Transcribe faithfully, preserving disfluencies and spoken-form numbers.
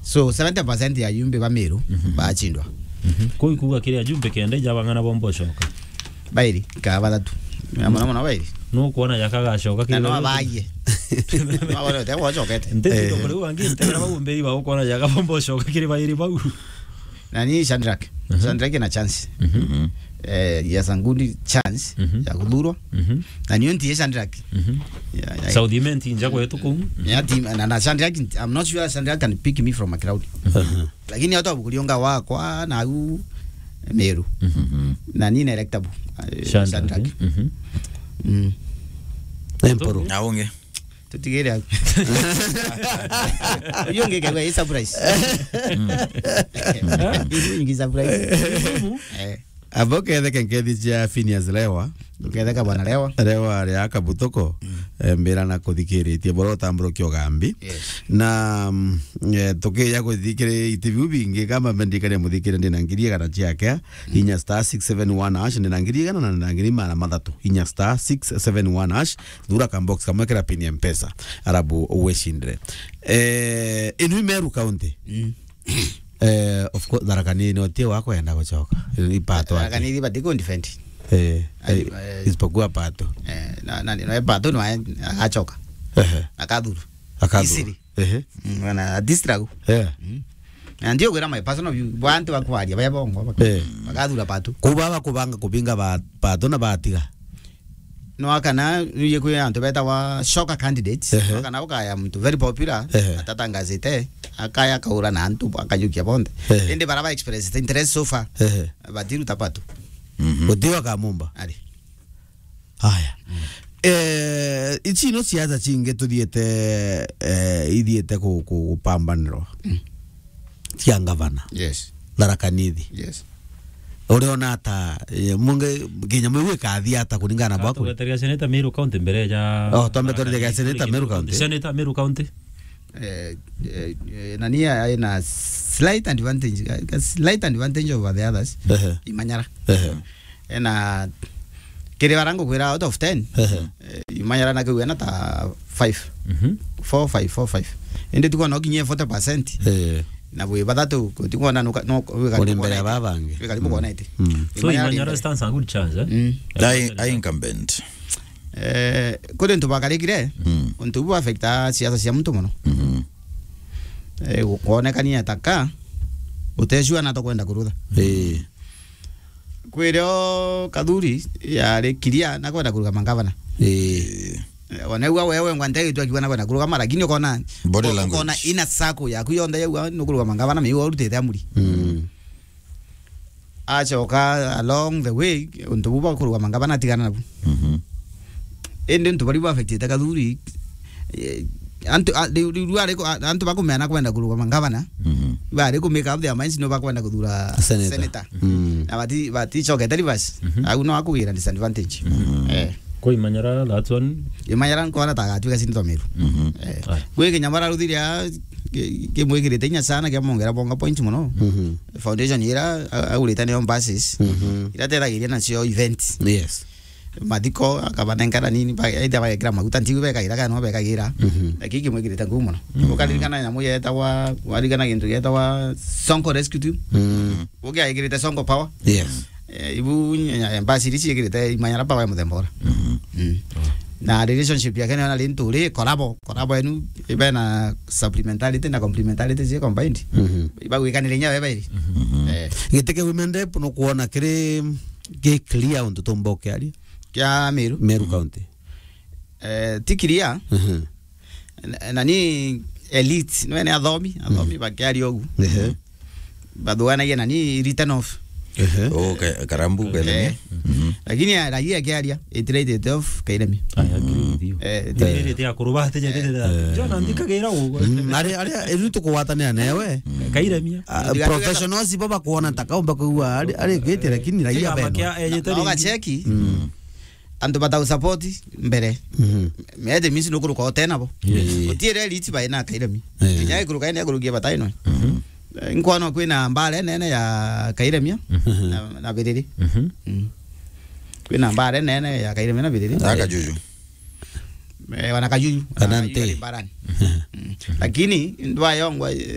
So, seventy percent ya ajumbe ba Meru, mhm, bachindwa. Mhm. Kuu ikuuga kiri ajumbe kenda ijabang'ana bomba ucoka. Bairi, ka bathatu. Na muno muno bairi. Nukwona jaka gacoka kiri. Na no bairi abaye. No abone utegwa acokete. Nteti, eh, ndo kuri wangi, ntera bau mberi ba ukwona jaka bomba ucoka kiri bairi bau. Na ni Shadrack. Mhm. Shadrack ena chance. Mhm. Eh, he has a good chance, mhm, ya kuthurwa. Mhm. Na niyo nti Shadrack. Mhm. Ya, ya. South Imenti nja kwetu kuu. Ya team, na, na Shadrack, I'm not sure Shadrack can pick me from a crowd. Mhm. Lakini hata bukuri onga wakwa na au Meru. Mhm. Na ni electable. Eh, Shadrack. Shadrack. Mhm. Mm. Emporo. Na ungi. Tutigire au. Uyu ungi kegwa i surprise. Mm. Uyu ungi surprise. Eh. Abo ketheke nkethi cia Phineas Lewa. Uketheka bwana Lewa. Lewa ria Kabutuko, mm, eh, mbira na kuthikiritie bora utambura ukiogambi. Yes. Na, mm, eh, tukija kuthikiri itibiu bingi kama mendikania muthikire ndina ngiri igana ciake, mm, inya star six seven one hash, ndina ngiri igana na ndina ngiri magana mathatu. Inya star six seven one hash, thura ka box kamwe kira pin ya Mpesa, arabu wicindire. Eh, inu i Meru County. Mm. Eh, of course, Tharaka Nithi no tie wakwenda gucoka. Ni pato. Tharaka Nithi bati ku defend. Eh, ai, eh, eh, isipokuwa pato. Eh, na, na, na pato no a-, agacoka. Ehe. Akathuru. Akathuru. Easily. Ehe. Mm, wana distract. Eh. Mm. Na ndio gwira my personal view. Bantu bakwaria baya bongo. Eh. Bakathura pato. Kuba bakubanga kubinga ba-, pato na batiga. No akana, nuye kwi antu betagwa shocker candidates. Ehe. No akana ukaya muntu very popular, ehe, atatangazite, akaya akaura na antu, akajukia bonthe. Ehe. Indi bara ba express interest so far, ehe, batiruta pato. Mhm. Gutiwa kamumba. Ari. Haya. Mm. Eh, ici no siasa cingi tuthiete, eh, ithiete ku-, ku-, gupambanirwa. Mm. Cia ngavana. Yes. Tharaka Nithi. Yes. Uriona ata, eh, munge, kinya mwigu ikathia ata kuringana na bwaku? Tugeteria seneta Meru County mbere ja. Oh, twambe twarire seneta Meru County. Seneta Meru County. Eh, eh, eh, nani aina slight advantage, a, a slight advantage over the others. Ehe. Imanyara. Ehe. Ena kiri bara ngukwira out of ten. Ehe. Eh, Imanyara na kiu ena ta five. Mhm. Four, five, four, five. Indi tuko no kinyie forty percent. Eh. Na bwi bathatu, tukwona no, no, uri mbere ya babangi. Wi karibu kwona iti. Mm. So Imanyara Imanyara stands a good chance, eh? Mm. Ai, ai incumbent. Eh, kuri ntu bakarikire, mm, untu bu affecta siasa cia muntu mono. Mhm. Eh, kwonekania ta ka, utecua na tokwenda kurutha. Eh. Kwirio Kathuri yari kiria na kwenda kurugama ngavana. Ii. Eh, ona ugwa wewe ngwa ntegitwe akiuga na kwenda kurugama, lakini ukona, body language, ukona ina circle yaku yonthe yauga nukurugama ngavana, miu urutite amuri. Mm. Acoka along the way, untu bu bwa kurugama ngavana atigana nabu. Mhm. Indi untu bari bu affectite Kathuri, eh, antu, a, riu, riu, riu ari ku-, a, antu bakumea na kwenda kurugama ngavana, mhm, bari ku make up their minds no bakwenda kuthura senator. Senator. Mm. Na bati, baticokete reverse. Mhm. Au no akugira disadvantage. Mhm. Eh. Kwa Imanyara, that's one. Imanyara nkona ta agatuika senator Meru. Mhm. Eh. Aye. Gwi kinya bara ruthiria ki-, kimwikirite inya sana kiamongera bonga point mono. Mhm. Foundation ira a-, agurite niyo buses. Mhm. Iratethagiria nacio event. Yes. Mathiko, akabanengera nini, ba-, either bagekira maguta, ntigu bekagira kana no bekagira. Mhm. Lakini kimwikirite ngumo mono. Mhm. Ukaririkana nyamu yetagwa, waririkana gintu gietagwa Sonko Rescue Team? Mm. Ugiaikirite Sonko Power? Yes. Eh, ibu nya-, nya-, mbasi iri ciikirite Imanyara Power ya muthemba ura. Mhm. Mm. Na relationship yake nayo nari nturi collabo, collabo enu ibe na supplementarity na complementarity cie combined. Mhm. Ibagwikanire inya beba iri. Mhm. Eh. Giti kia women rep no kuona kiri Gi clear untu tumba ukiaria? Kia Meru? Meru County. Eh, ti clear. Mhm. Na, na ni elite, no ni athomi, athomi, mhm, bakiaria ugu. Ehe. Bathuganagia na ni written off. Ehe. Oh, ka-, karambu, eh, kairemia. Mhm. Lakini ya raia akiaria, it rated off kairemia. I agree with you. Eh, it rated ya kuruba, ati ya rated ya. Eh. Jona ndikagira ugu. Mm, ari, ari, riu tukugwatanira newe. Kairemia. Ah, professionals bo bakuona ta kaumba kuigua ari, ari kwite, lakini raia beno. Kia, eh, na, na ugacheki, mm, antu batau support mbere. Mhm. Mete misi nukuruka ote nabo. Yes. Utiere rich by na kairemi. Eh. Kinya ikuruka ene kurukia bataino. Mhm. Eh, nkwana kwina mbare nene ya kairemia, mhm, na, na biriri. Mhm. Mm. Kwina mbare nene ya kairemia na biriri. Akajuju. Eh, wana kajuju. Kana ah, nte. Hiyo ni barani. Mm. Lakini ndwayongwa, eh,